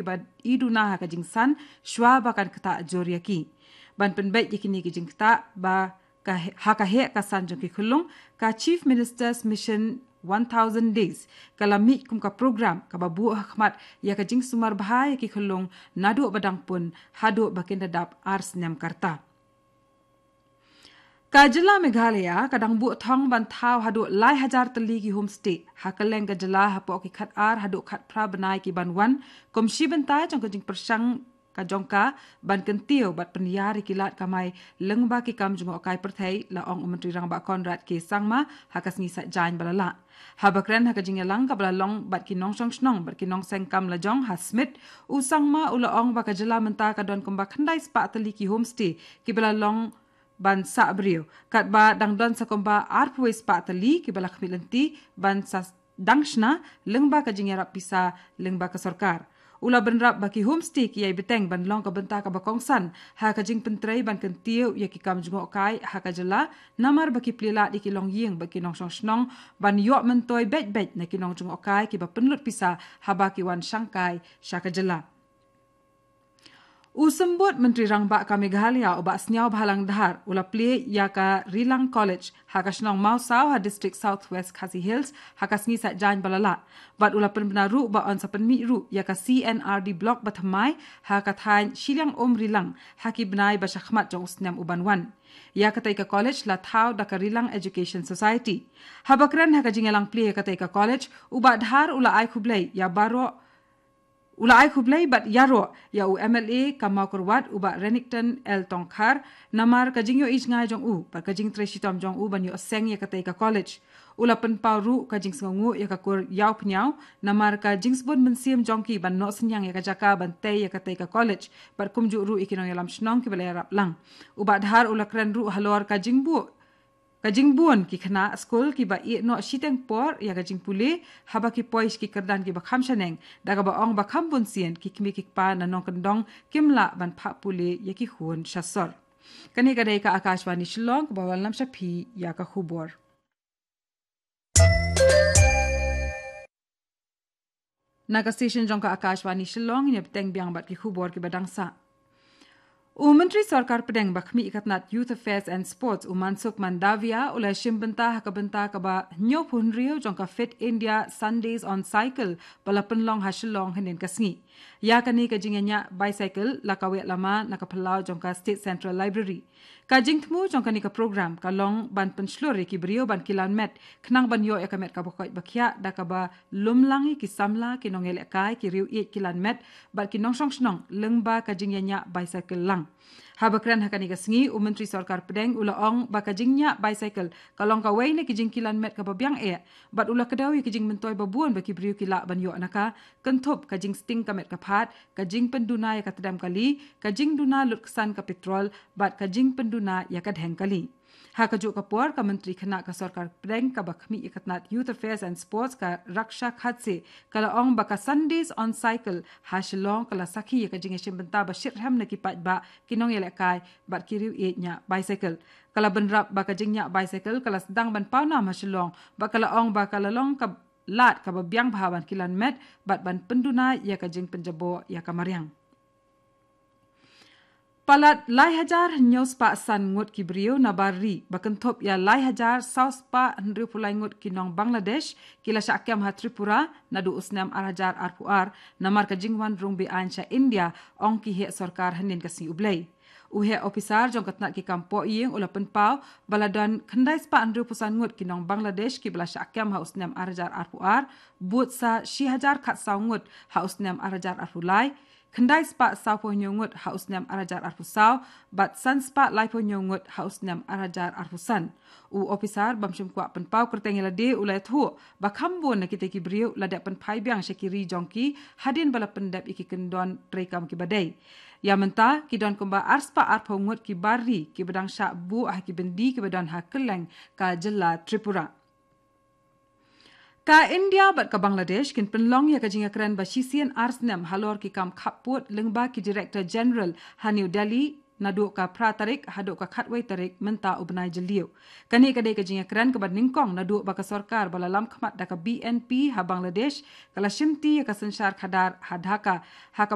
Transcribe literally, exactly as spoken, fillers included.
ba i duna ha ka jingsan, shwa ba kan ktah jur ïa ki. Ban pynbeit ïa kine ki jingktah, ba ka he-, ha ka heh ka san jong ki khyllung, ka Chief Minister's Mission one thousand Days, ka la mih kum ka program, kaba buh ha khmat, ïa ka jingsumar bha ïa ki khyllung, naduh ba dang pun, haduh ba kin da dap ar snem ka rta. Ka jylla Meghalaya, ka dang buh thong ban thaw haduh lai hajar tylli ki homestay, ha kylleng ka jylla hapoh ki khat ar haduh khat phra bnai ki ban wan, kum shi bynta jong ka jingpyrshang ka jong ka, ban kyntiew bad pynïar ïa ki lad kamai lyngba ki kam jngohkai pyrthei, la ong u Myntri Rangbah Conrad K Sangma, ha ka sngi Saitjaiñ ba la lah. Haba kren ha ka jingïalang kaba la long bad ki nongshong shnong bad ki nongseng kam lajong ha Smit, u Sangma u la ong ba ka jylla mynta ka don kumba khyndai spah tylli ki homestay kiba la long ban sah briew. Katba dang don sa kumba arphew spah tylli kiba la khmih lynti ban sa dang shna lyngba ka jingïarap pisa lyngba ka sorkar. U la bynrap ba ki homestay ki ïai bteng ban long ka bynta kaba kongsan ha ka jingpyntrei ban kyntiew ïa ki kam jngohkai ha ka jylla, namar ba ki plie lad ïa ki longïing bad ki nongshong shnong ban ïoh myntoi beit beit na ki nongjngohkai kiba pynlut pisa haba ki wan shangkai sha ka jylla. U Symbud Myntri Rangbah ka Meghalaya u Bah Sniawbhalang Dhar u la plie ïa ka Rilang College ha ka shnong Mawsaw ha District South West Khasi Hills ha ka sngi Saitjaiñ ba la lah. Bad u la pynbna ruh ba yn sa pynmih ruh ïa ka C N R D Block bathymmai ha ka thaiñ Shiliang Um Rilang ha ki bnai ba shakhmat jong u snem u ban wan. Ïa katei ka college la thaw da ka Rilang Education Society. Haba kren ha ka jingïalang plie ïa katei ka college, u Bah Dhar u la ai khublei ïa baroh, u la ai khublei bad ïaroh ïa u M L A ka Mawkyrwat u Bah Renikton L Tongkhar, namar ka jingïohi jngai jong u bad ka jingtrei shitom jong u ban ïoh seng ïa katei ka college. U la pynpaw ruh ka jingsngewnguh ïa ka kur Ïawphniaw, namar ka jingsbun mynsiem jong ki ban noh synñiang ïa ka jaka ban tei ïa katei ka college, bad kumjuh ruh ïa ki nongïalam shnong kiba la ïarap lang. U Bah Dhar u la kren ruh halor ka jingbuh, ka jingbun ki khynnah skul kiba ïeh noh shiteng por ïa ka jingpule, haba ki poi sha ki kyrdan kiba kham shaneng, da kaba ong ba kham bun sien ki kmie ki kpa na nongkyndong kim lah ban phah pule ïa ki khun sha sor. Kane ka dei ka Akashvani Shillong kaba wallam sha phi ïa ka khubor. Na ka station jong ka Akashvani Shillong, ngin ïa bteng biang bad ki khubor kiba dang sah. U Myntri Sorkar Pdeng ba khmih ïa ka tnat Youth Affairs and Sports, u Mansukh Mandaviya, u la shim bynta ha ka bynta kaba hynñiewphew hynriew jong ka Fit India Sundays on Cycle ba la pynlong ha Shillong hynnin ka sngi. Ïa kane ka jingïañah bicycle la kaweh lama na ka phyllaw jong ka State Central Library. Ka jingthmu jong kane ka program ka long ban pynshlur ïa ki briew ban kilan met, khnang ban ïoh ïa ka met kaba koit ba khiah, da kaba lum lang ïa ki samla, ki nongïalehkai, ki riewieid kilan met bad ki nongshong shnong lyngba ka jingïañah bicycle lang. Haba kren ha kane ka sngi, u Myntri Sorkar Pdeng u la ong ba ka jingñah bicycle ka long kawei na ki jingkilan met kaba biang eh, bad u la kdew ïa ki jingmyntoi babun ba ki briew ki lah ban ïoh na ka, kynthup ka jingsting ka met ka phad, ka jingpynduna ïa ka tdem kali, ka jingduna lut ksan ka petrol, bad ka jingpynduna ïa ka dheng kali. Ha kajuh ka por, ka Myntri Khynnah ka Sorkar Pdeng kaba khmih ïa ka tnat Youth Affairs and Sports, ka Raksha Khadse, ka la ong ba ka Sundays on Cycle ha Shillong ka la sakhi ïa ka jingïashim bynta ba shitrhem na ki paidbah, ki nongïalehkai bad ki riewieid ñiah bicycle. Ka la bynrap ba ka jingñiah bicycle ka la sdang ban pawnam ha Shillong, bad ka la ong ba ka la long ka lad kaba biang bha ban kilan met bad ban pynduna ïa ka jingpynjaboh ïa ka mariang. Palat lai hajar hynñiew spah san ngut ki briew na bar ri, ba kynthup ïa lai hajar saw spah hynriewphew lai ngut ki nong Bangladesh, ki la shah kem ha Tripura naduh u snem ar hajar arphew ar, namar ka jingwan rung be-aiñ sha India, ong ki heh sorkar hynnin ka sngi U Blei. U heh ophisar jong ka tnat ki kam pohïing u la pynpaw ba la don khyndai spah hynriewphew san ngut ki nong Bangladesh kiba la shah kem ha u snem ar hajar arphew ar, bud sa shi hajar khatsaw ngut ha u snem ar hajar arphew lai, khyndai spah sawphew hynñiew ngut ha u snem ar hajar arphew saw, bad san spah laiphew hynñiew ngut ha u snem ar hajar arphew san. U ophisar bym shym kwah pynpaw kyrteng ïa lade u la ïathuh ba kham bun na kita ki briew la dep pynphai biang sha ki ri jong ki hadien ba la pyndep ïa ki kyndon treikam kiba dei. Ïa mynta ki don kumba ar spah arphew ngut ki bar ri kiba dang shah buh ha ki byndi kiba don ha kylleng ka jylla Tripura. Ka India bad ka Bangladesh kin pynlong ïa ka jingïakren ba shisien ar snem halor ki kam khappud lyngba ki Director General ha New Delhi, naduh ka phra tarik haduh ka khatwei tarik mynta u bnai Jylliew. Kane ka dei ka jingïakren kaba nyngkong naduh ba ka sorkar ba la lam khmat da ka B N P ha Bangladesh ka la shimti ïa ka synshar khadar ha Dhaka, ha ka